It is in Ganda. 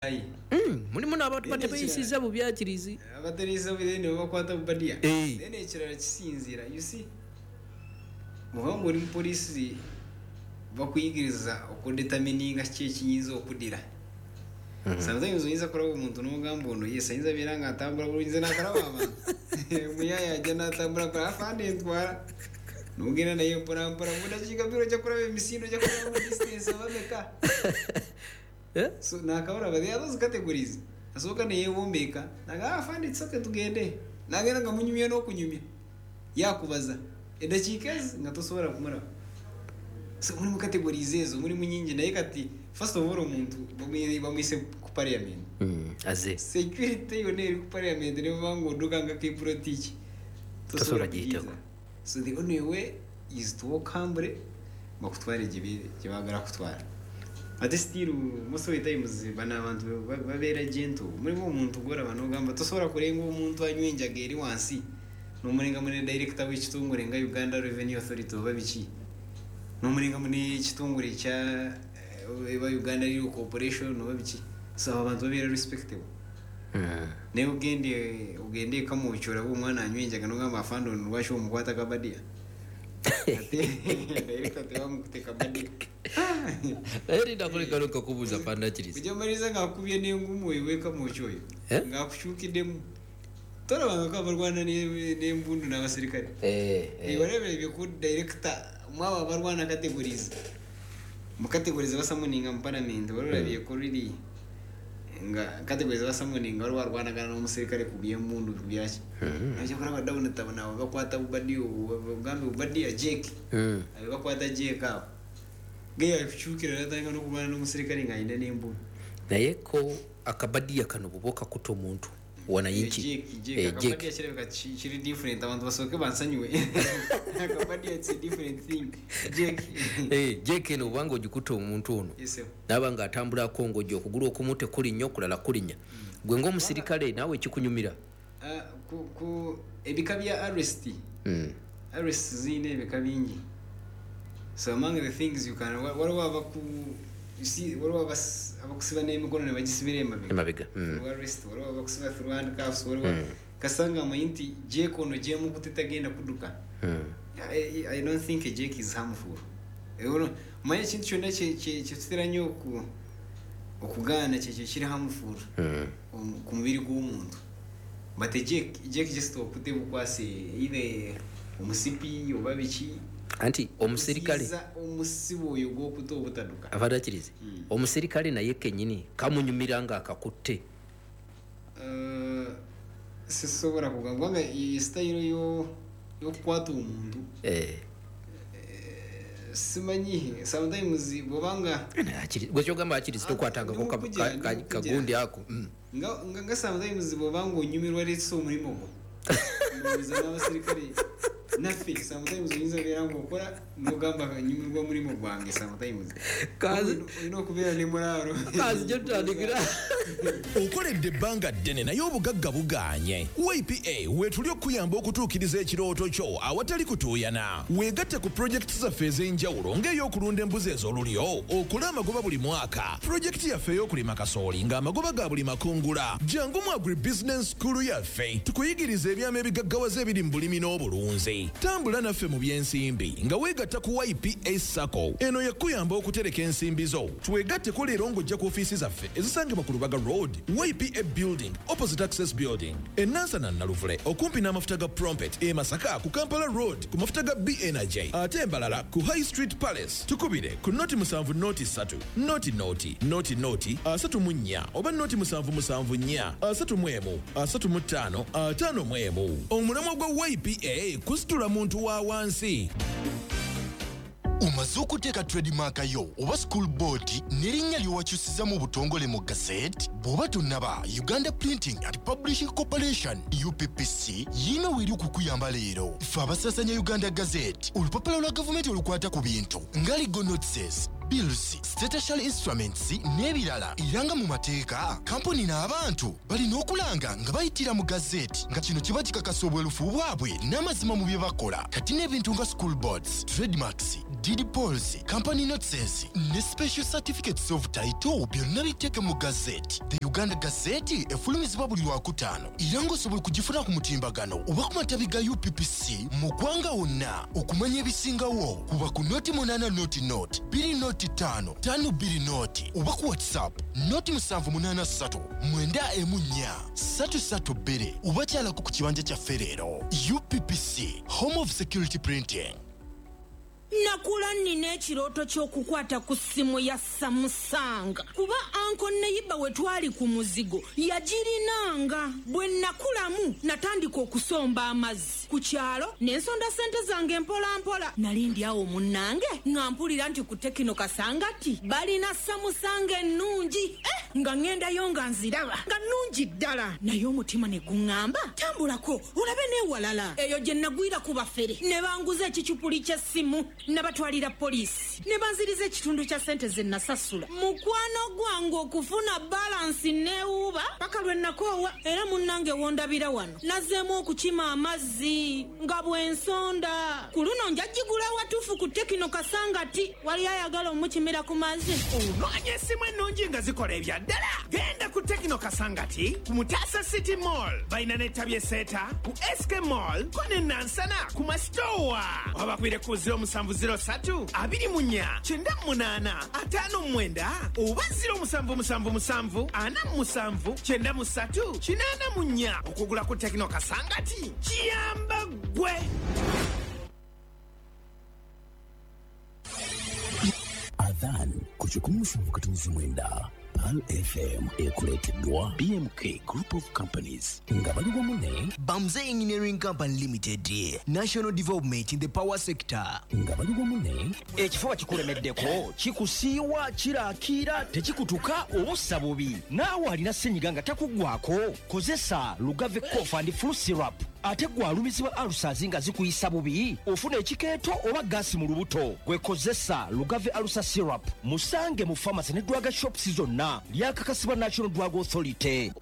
Mulimu n'abantu batebeyisiza bubi akirizi. Abatereyisa bubi ne babakwata bubadiya. Eh. Then ekirala kisinziira, you see, bw'oba ng'oli mupoliisi bakuyigiriza okudetermininga ki ekiyinza okuddira. Sometimes oyinza kulaba omuntu n'ogamba ono yes ayinza abeera nga atambula bulungi, nze nakalaba abantu omuyaaye ajja n'atambula mpola, afande ntwala n'ogenda naye mpola mpola, mu dakiika bbiri ojja kulaba emisinde, ojja kulaba mu distance oba meka. Eh? So nakabalaba, there are those categories. Asooka neyewombeeka naga, "Afande, it's okay, tugende." Nagenda nga munyumya n'okunyumya, yakubaza eddakiika ezi nga tosobola kumulaba. So mulimu categories ezo, mulimu nyingi. Naye kati first of all omuntu bamuyise ku parliament, Aze security yonna eri ku parliament, ne bweba nga odduka nga kiprotiki Tosobola giyitako. So the only way is to walk humble, bakutware gye baagala kutwara. Ate still most of the times bano abantu babeera gentle. Mulimu omuntu gwolaba nogamba tosobola kulenga omuntu anywa enjaga eri wansi nomulengamu ne director w'ekitongole nga Uganda Revenue Authority oba biki, nomulengamu n'ekitongole ekya eba Uganda Real Corporation oba biki. So abo abantu babeera respectable. Naye ogende ekamuokyo olabe omwana anywa enjaga nogamba, "Afande, ono lwaki omukwata kabadiya?" Ate director tebamukute kabadiya. Naye lindakulekano kakubuuza, pandakirizi. Ojja maliriza ng'akubye n'engumu oyo wekamwokyo oyo Eh? ng'akukyukiddemu. Tolabangako abalwana n'embundu n'abaserikale? Walaba ku director mwabo abalwana categories, mu categories basamuninga mu parliament, walolabyeko riri nga categories basamuninga waliwo alwanagana n'omuserikale ku byembundu, ku byaki. Ajja kulaba down tabona bakwata bubadiya, ogambe bubadiya jek, abo bakwata jek awo geya kukyukira natandika n'okulwana n'omuserikale ng'alina n'embundu. Naye ko akabadiya kano bwoba okakuta omuntu wanayinki? Jek. Eh, Jek. Akabadiya kirabika kiri different. Abantu basooke bansonyiwe, akabadiya it's a different thing, jek. Eh, jek eno obanga ogikuta omuntu ono Yes, sir. naaba ng'atambulako ng'ojja okugulu okumu tekulinnya, okulala kulinnya, gwe ng'omusirikale naawe ekikunyumira? Ah, ku ebika bya arrest, arrest ziyina ebika bingi. So among the things you can, waliwo abaku, you see, waliwo abakusiba n'emikono ne bagisibira emabega. Emabega. Through arrest, waliwo abakusiba through handcuffs, waliwo kasanga amanyi nti jek ono gyemukute tagenda kudduka. I don't think a jerk is harmful. Omanyi ekintu kyonna kyetutera nnyo okugaana kyekyo kiri harmful ku mubiri gw'omuntu. But a jerk just okute bukwase either omusipi oba biki. Anti omusirikale Okuziyiza omusibo oyo gw'okuta obutadduka. Avadakirizi, omusirikale naye kenyini kamunyumira nga akakutte? Sisobola kugamba kubanga sitayiro y'okukwata omuntu, simanyi, sometimes bwobanga Naye gwe kyogamba akirizi tokwatangako Ndi mukugira. kagundi ako. Nga sometimes bwobanga onyumirwa leetisa omulimu gwo, ndowooza n'abasirikale naffe sometimes oyinza obeera ngaokola nogamba nyumirwa omulimu gwange sometimes. Olina okubeera ne mulaalo. Kazi gye tutandikira. Okoledde ebbanga ddene naye obugagga bugaanye. YPA weetuli okukuyamba okutuukiriza ekirooto kyo awatali kutuuyana. Weegatte ku pulojekiti zaffe ez'enjawulo ng'ey'okulunda embuzi ez'olulyo okole amagoba buli mwaka, pulojekiti yaffe ey'okulima kasooli ng'amagoba ga buli makungula. Jangu mu agribusiness school yaffe tukuyigiriza ebyama ebigaggawaza ebiri mu bulimi n'obulunzi. Tambula naffe mu by'ensimbi nga weegatta ku YPA SACCO. Eno yakuyamba okutereka ensimbi zo. Twegatteko leero ng'ojja ku ofiisi zaffe ezisangibwa ku Lubaga Road, YPA Building, opposite Access Building, enansana Naluvule okumpi n'amafuta ga Prompet, e Masaka ku Kampala Road ku mafuta ga BNJ, ate embalala ku High Street Palace. Tukubire ku 0 7 0 3 0 0 0 0 34 oba 0 7 7 4 31 35 51. Omulamwa gwa YPA kusitula muntu wa wansi. Omaze okuteeka trademark yo oba school board n'erinnya ly'owakyusiza mu butongole mu gazette? Bw'oba tonnaba, Uganda Printing and Publishing Corporation, UPPC, yiina weeri okukuyamba leero. Ffe abasaasanya Uganda Gazette, olupapula lwa gavumenti olukwata ku bintu nga legal notices, bills, statutory instruments n'ebirala. Era nga mu mateeka kampuni n'abantu balina okulanga nga bayitira mu gazeti, nga kino kiba kikakasa obwerufu bwabwe n'amazima mu bye bakola. Kati n'ebintu nga school boards, trademarks, Deed polls, company notices ne special certificates of title byonna biteeke mu Gazette. The Uganda Gazette efulumizibwa buli Lwakutaano, era ng'osobola okugifuna ku mutimbagano oba ku matabi ga UPPC mu ggwanga wonna. Okumanya ebisingawo, kuba ku 080 0 0 2 05 52 0 oba ku WhatsApp 0 783 94 332 oba kyalako ku kibanja kyaffe leero. UPPC, home of security printing. Nakula nnina ekirooto ky'okukwata ku ssimu ya Samsung, kuba uncle neighbour we twali ku muzigo yagirinanga. Bwe nakulamu, natandika okusomba amazzi ku kyalo ne nsonda sente zange mpolampola. Nali ndi awo munnange nga mpulira nti ku Tecno Kasangati balina Samsung ennungi. Eh, nga ŋŋendayo nga nziraba nga nnungi ddala, naye omutima ne guŋŋamba, "Tambulako olabe n'ewalala." Eyo gye nagwira ku bafere ne banguza ekicupuli ky'essimu. Nabatwalira poliisi ne banziriza ekitundu kya ssente ze nasasula. Mukwano gwange okufuna balance neewuuba paka lwe nakoowa. Era munnange wondabira wano, nazzeemu okukima amazzi nga bw'ensonda. Ku luno njagigula watuufu ku Tecno Kasangati. Wali ayagala omukimira ku mazzi? Onoonya essimu ennungi nga zikola ebya ddala? Genda ku Tecno Kasangati ku Mutasa City Mall. Balina n'ettabi eseeta ku SK Mall ko ne Nansana ku Masitowa. Wabakwire ku 0703 24 98 59 oba 0777 47 93 84. Okugula ku Tecno Kasangati kiyamba ggwe. Adhan ku 107.9 Pearl FM ekuleeteddwa BMK Group of Companies nga bali wamu ne Bamze Engineering Company Limited, national development in the power sector. Nga bali wamu ne Ekifuba kikulemeddeko, kikusiiwa, kiraakiira, tekikutuka, obussa bubi. Naawe alina senyiga nga takuggwako, kozesa Lugave Cough and Flu Syrup. Ate gwe alumizibwa ulcers nga zikuyisa bubi, ofuna ekikeeto oba gaasi mu lubuto, gwe kozesa Lugave Ulcer Syrup. Musange mu pharmacy ne drug shops zonna. Lyakakasibwa National Drug Authority.